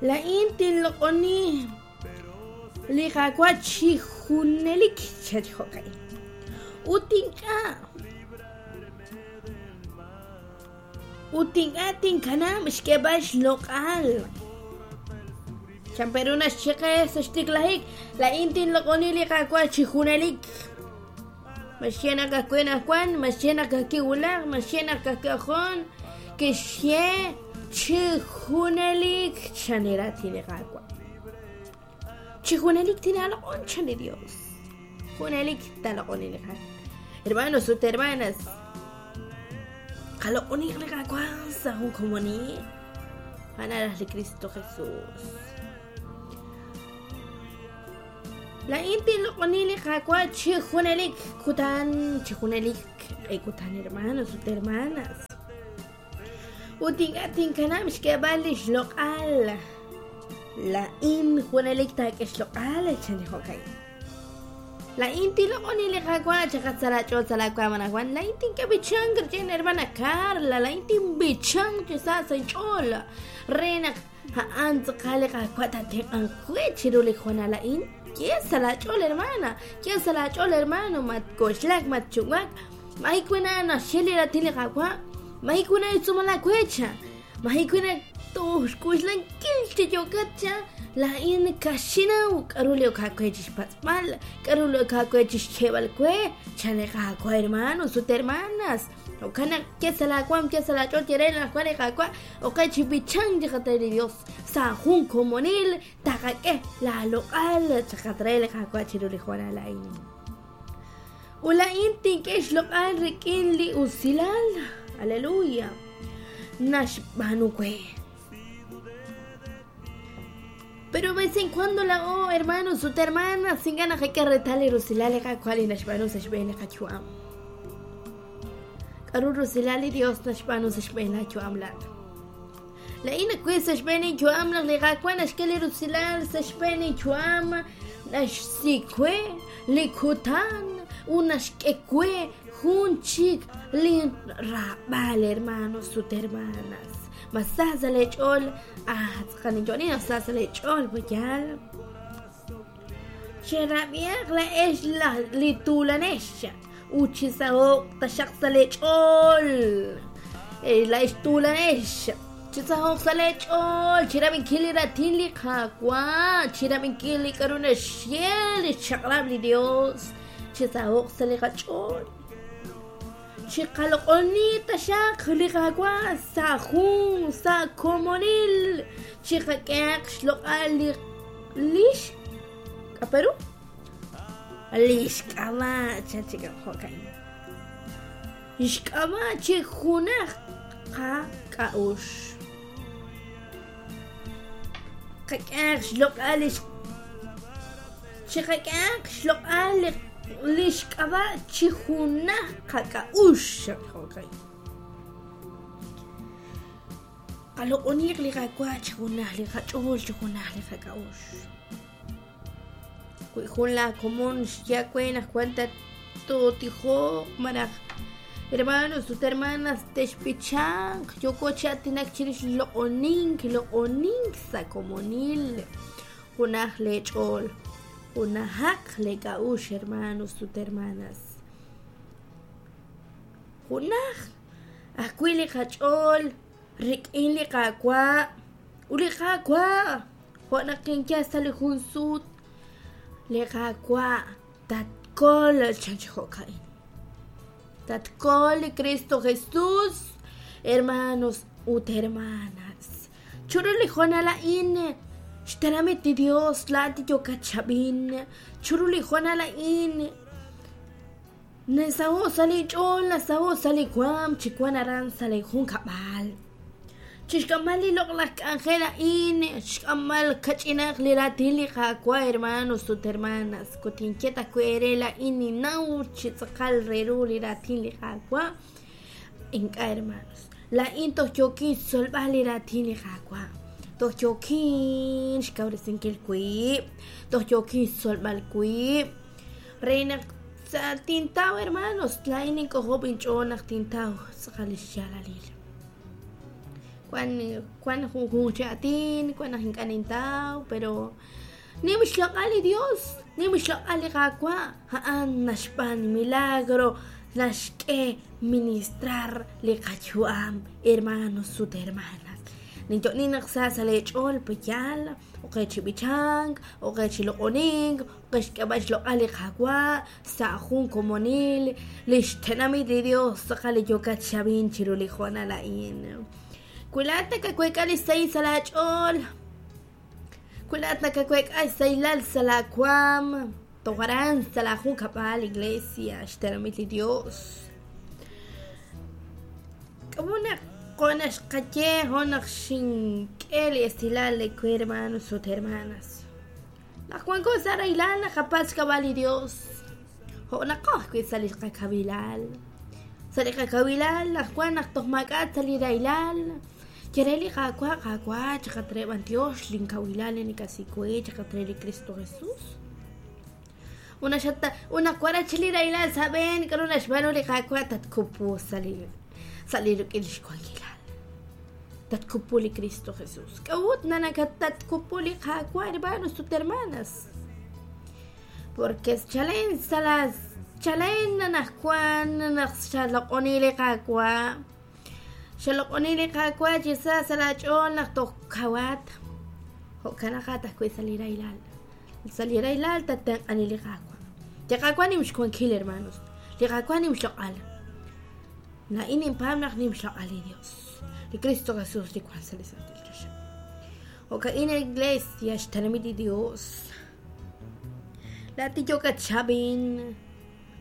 Laa'in tinloq'oni li Qaawa' chi junelik, chan chi jo'ka'in. Ut ink'a' ut ink'a' tinkanab' xk'eeb'al xloq'al. Chan pe ru naxye qe sa' xtiklajik, laa'in tinloq'oni li Qaawa' chi junelik. Ma xye naq ka'ajwi' anaqwan, ma xye naq ka'ajwi' wulaj, ma xye naq ka'ajwi' ojon, kixye chi junelik chan li raatin li Qaawa'. Chi junelik tinaaloq'on chan li Dios. Junelik taaloq'oni li Qaawa'. Hermanos ut hermanas, qaloq'oniq li Qaawa' sa' jun komonil. A'an naraj li Kristo Jesus. Laa'in tinloq'oni li Qaawa' chi junelik kutan, chi junelik q'e kutan, hermanos ut hermanas. Ut ink'a' tinkanab' xk'eeb'al li xloq'al. Laa'in junelik taak'e xloq'al, chan li jo'ka'in. Laa'in tinloq'oni li Qaawa' chaqat sa' laach'ool sa' laawaam anaqwan. Laa'in tink'e b'ichank rik'in hermana Carla. Laa'in tinb'ichank chi sa sa' inch'ool re naq A'an tz'aqal li Qaawa' taatenq'anq we chiru li hoonal a'in. Ye sa' laach'ool, hermana. Ye sa' laach'ool, hermano. Matk'oxlak, matchu'wak. Maji wena naxye li raatin li Qaawa'. Maji wena xtz'uumal aawe, cha. Maji wena toj xk'oxlankil chi yookat, cha. Laa'in kaxinaw k'a'ru li ok aawe chixpatz'b'al, k'a'ru li ok aawe chixyeeb'al we, chan li Qaawa', hermanos ut hermanas. Jo'kan naq ye sa' laawaanm, ye sa' laach'ool, ye re anaqwan li Qaawa', oqe chi b'ichank chiqat re li Dios sa' jun komonil taqak'e laaloq'al chaqat re li Qaawa' chiru li hoonal a'in. Ut laa'in tink'e xloq'al rik'in li usilal, aleluya, naxb'aanu we. Pero vez en cuando laa'o, hermanos ut hermanas, ink'a' naqak'e reetal li rusilal li Qaawa' li naxb'aanu sa' xb'een li qayu'am. K'aru rusilal li Dios naxb'aanu sa' xb'een laayu'am laa'at? Laa'in nawil sa' xb'een inyu'am naq li Qaawa' naxk'e li rusilal sa' xb'een inyu'am, naxsi we li kutan ut naxk'e we jun chik lin raab'al, hermanos ut hermanas. Ma sa sa' leech'ool? Ah, tz'aqal ninyo'oni naq sa sa' leech'ool, yaal. Cherab'ihaq laa'ex li tuulanex ut chisaho'q taxaq sa' leech'ool. Laa'ex tuulanex, chisaho'q sa' leech'ool, chirab'inkil li raatin li Qaawa', chirab'inkil li k'aru naxye li xchaq'rab' li Yos, chisaho'q sa' li qach'ool. Chiqaloq'oni taxaq li Qaawa' sa' jun sa' komonil, chiqak'ehaq xloq'al li lix k'aperu lix k'ab'a' chan chik jo'ka'in lix k'ab'a' chi junaj qak'a'uxl qak'ehaq xloq'al lix Chiqak'ehaq xloq'al li xk'ab'a' chi junaj qak'a'uxl. Jo'kan. Qaloq'oniq li Qaawa' chi junaj li qach'ool, chi junaj li qak'a'uxl. Wi jun laa komon xye aawe naq wan tootijoq malaj hermanos ut hermanas te'xb'ichanq, yooko chi aatinak chirix loq'onink, loq'onink sa' komonil. Junaj lee ch'ool, junajaq lee k'a'uxl, hermanos ut hermanas. Junaj ajwi' li qach'ool rik'in li Qaawa' ut li Qaawa' jo' naq kinye sa' li jun sut, li Qaawa' tatkol chan chi jo'ka'in. Tatkol li Kristo Jesus, hermanos ut hermanas. Chiru li hoonal a'in, xtenamit li Dios, laa'at li yookat chab'in. Chiru li hoonal a'in, nasaho' sa' linch'ool, nasaho' sa' li waanm chi wank aran sa' li junkab'al. Chixk'amb'al li loq'laj k'anjel a'in, xk'amb'al kach'inaq li raatin li Qaawa', hermanos ut hermanas. Ut tinye ta wi' eere laa'in ninnaw chi tz'aqal re ru li raatin li Qaawa'. Ink'a', hermanos. Laa'in toj yookin xtzolb'al li raatin li Qaawa'. Toj yookin xkawresinkil wib'. Toj yookin xtzolb'al wib'. Re naq sa' tintaw, hermanos, laa'in nink'ojob' inch'ool naq tintaw tz'aqal lix yaalalil. Wan wan junjunq chi aatin, wan naq ink'a' nintaw, pero nim xloq'al li Dios, nim xloq'al li Qaawa', a'an naxb'aan milagro, naxk'e ministrar li qayu'am, hermanos ut hermanas. Ninyo'nin naq sa sa' lee ch'ool pe'yaal, ok qe chi b'ichank, ok qe chi loq'onink, ok qe xk'eeb'al xloq'al li Qaawa' sa' jun komonil, lix tenamit li Dios tz'aqal li yookat xab'in chiru li hoonal a'in. Wi laa'at nakaweek'a li sahil sa' laa ch'ool, wi laa'at nakaweek'a xsahilal sa' laa waam, toj aran sa' laa junkab'al, iglesia, xtenamit li Dios. K'a'ut naq jo' naq xqaye, jo' naq xink'e li esilal li we hermanos ut hermanas. Naq wanko sa' rahilal naqapatz' xk'ab'a' li Dios, jo' naqo ajwi' sa' li qakawilal. Sa' li qakawilal naq wan naq toj maak'a' sa' li rahilal, ye re li Qaawa', Qaawa', chaqat re b'antiox linkawilal li nakasi we, chaqat re li Kristo Jesus. Ut naq wanat chik li rahilal sa' aab'een, k'aru naxb'aanu li Qaawa'? Tatkupu sa' li sa' li rik'in li xwankilal. Tatkupu li Kristo Jesus. K'a'ut nakatatkupu li Qaawa', hermanos ut hermanas? Porque chalen sa' la chalen anaqwan naq xaloq'oni li Qaawa', xaloq'oni li Qaawa' chi sa sa' laach'ool naq toj kawat, jo'kanaqat ajwi' sa' li rahilal. Sa' li rahilal tattenq'ani li Qaawa'. Li Qaawa' nim xwankil, hermanos. Li Qaawa' nim xloq'al. Laa'in ninpaab' naq nim xloq'al li Dios. Li Kristo Jesus li wank sa' li santil choxa. Jo'ka'in iglesia xtenamit li Dios. Laa'at li yookat xab'in,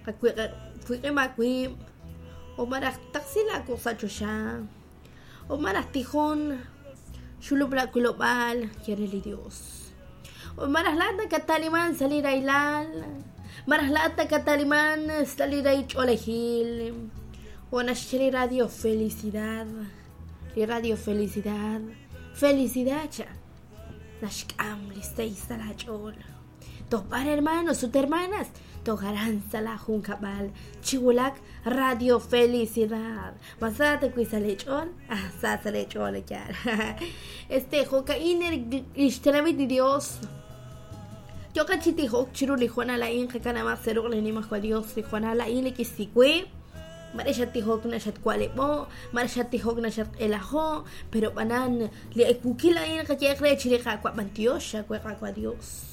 qawiq'im aawib', o malaj taqsi laawuq' sa' choxa, o malaj tijon, xulub' laawilob'aal, ye re li Dios. O malaj laa'at nakataliman sa' li rahilal, malaj laa'at nakataliman sa' li rahil ch'oolejil, jo' naxye li radio Felicidad, li radio Felicidad, Felicidad cha, naxk'am li sahil sa' laach'ool. Toj b'ar hermanos ut hermanas, toj aran sa' laa junkab'al, chi wulak Radio Felicidad. Ma sa ta wi' sa' lee ch'ool? Ah, sa sa' lee ch'ool, yaal. Este, jo'ka'in lix tenamit li Dios. Yooqat chi tijok chiru li hoonal a'in, qakanab'aq sa' ruq' li Nimajwal Dios li hoonal a'in li kixsi we. Mare xattijok na xatwa'leb'o', mare xattijok na xatq'elajo', pero b'anan li ewukil a'in qayeeq re chi li Qaawa' b'antiox aawe Qaawa' Dios.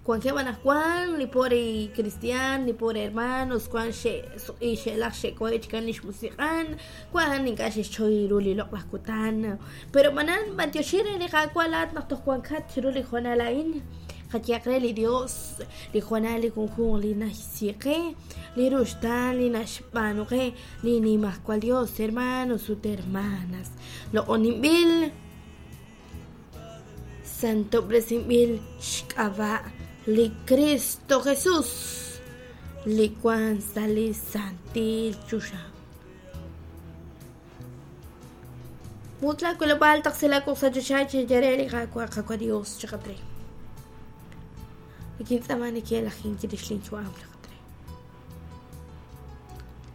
Wankeb' anaqwan li pobre cristian, li pobre hermanos, wan xe'suq'i xe'laj xe'kohe' chikan lix musiq'an, wan ink'a' xe'xchoy ru li loq'laj kutan. Pero b'anan b'antioxi re li Qaawa' laa'at naq toj wankat chiru li hoonal a'in. Qayehaq re li Dios, li hoonal li junjunq li naxsi qe, li ruxtaan li naxb'aanu qe li Nimajwal Dios, hermanos ut hermanas. Loq'oninb'il, santob'resinb'il xk'ab'a' li Kristo Jesus, li wan sa' li santil choxa. Mut laawilob'aal taqsi laawuq' sa' choxa chaye re li Qaawa', Qaawa' Dios, chaqat re. Nikintz'aama neke'lajink chirix linyu'am, chaqat re.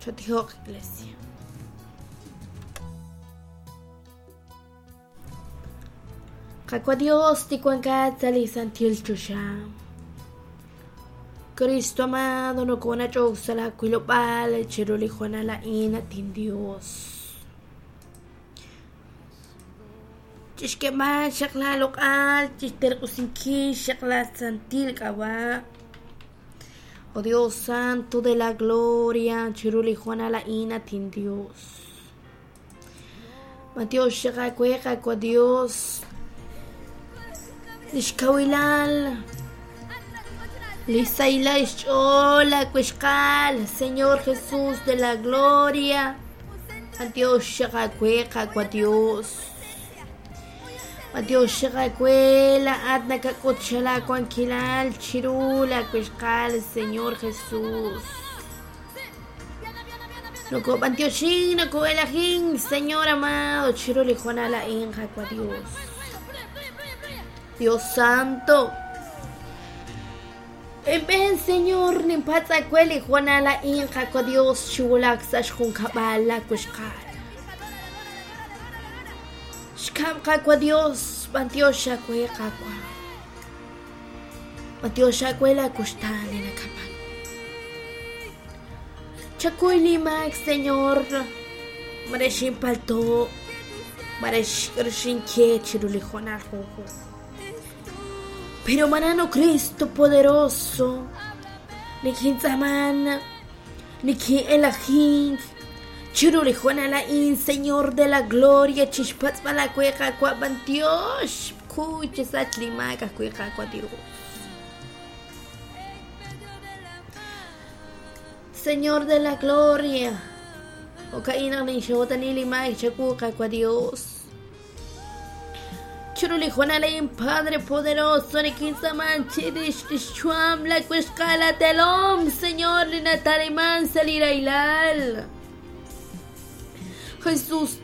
Chotijoq, Iglesia. Qaawa' Dios, li wankat sa' li santil choxa. Cristo amado, nokonach'ok sa' laawilob'aal chiru li hoonal a'in, at inDios. Chixk'eeb'al xaq laaloq'al, chixterq'usinkil xaq laasantil k'ab'a'. Oh Dios Santo de la Gloria, chiru li hoonal a'in, at inDios. B'antiox xaq aawe, Qaawa' Dios, li xkawilal, li xsahilal xch'ool laawixqal, Señor Jesús de la Gloria. B'antiox xaq aawe, Qaawa' Dios. B'antiox xaq aawe, laa'at nakak'ut xa laawankilal chiru laawixqal, Señor Jesús. Nokob'antioxin, noko'elajin, Señor amado, chiru li hoonal a'in, Qaawa' Dios. Dios Santo. Inb'een, Señor, ninpatz' aawe li hoonal a'in, Qaawa' Dios, chiwulak sa' xjunkab'al laawixqal. Xkab' Qaawa' Dios, b'antiox aawe Qaawa'. B'antiox aawe laakuxtaan li nakab'an. Chakuy li maak, Señor, mare xinpalto', mare xinye chiru li hoonal junjunq. Pero manano Cristo poderoso, nikintz'aaman, nikin'elajink, chiru li hoonal a'in, Señor de la gloria, chixpatz'b'al aawe Qaawa' b'antiox, kuy chisach li maak ajwi' Qaawa' Dios. Señor de la gloria, jo'ka'in naq ninxootani li maak chawu Qaawa' Dios. Chiru li hoonal a'in, Padre poderoso, nikintz'aaman chirix lix yu'am la wixqal atelom, Señor, li nataliman sa' li rahilal. Jesús.